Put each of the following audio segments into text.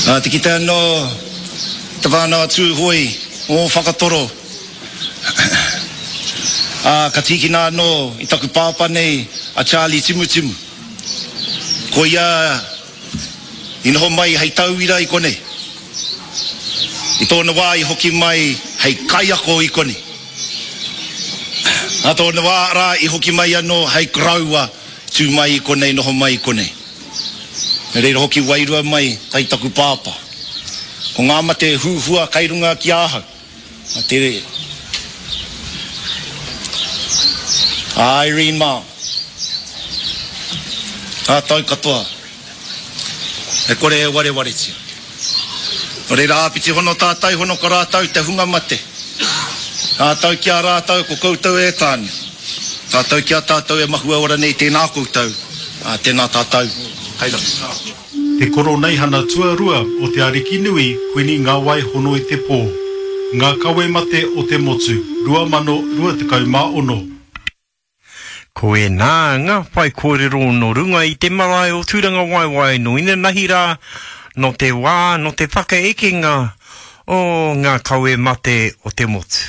Nā te kite anō te whānau a Tūhoe ō whakatoro, ā, ka tīkina anō i taku pāpā nei a Charlie Timutimu. Ko ia i noho mai hei tauira i konei. I tōna wā i hoki mai hei kaiako i konei. Nā tōna wā rā i hoki mai anō hei koroua tū mai i konei, noho mai i konei. Me reira hoki wairua mai kai taku pāpā. Ko ngā mate huhua kai runga ki ahau, a te a Irene mā, ngā tau katoa, e kore e warewaretia. Nō reira āpiti hono tātai hono ko rātou te hunga mate. Tātou ki a rātou ko koutou e tāne. Tātou ki a tātou e mahue ora nei tēnā koutou, ā, tēnā tātou. Kai rapu. Te Koroneihana Tuarua o Te Arikinui Kuini Ngawai Hono-i-te-Pō, Ngā Kawe Mate o te Motu, 2026. Ko ēnā ngā whaikōrero nō runga i te marae o Tūrangawaewae nō inanahi rā, nō te wā, nō te whakaekenga o ngā kawe mate o te motu.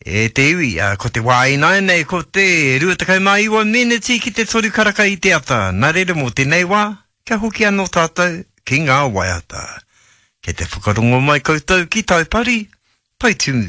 E te iwi, ko te wā ināianei ko te 29 meneti ki te toru karaka i te ata, nā reira mō tēnei wā, kia hoki anō tātou ki ngā waiata. Kei te whakarongo mai koutou ki Taupari, Taitumu.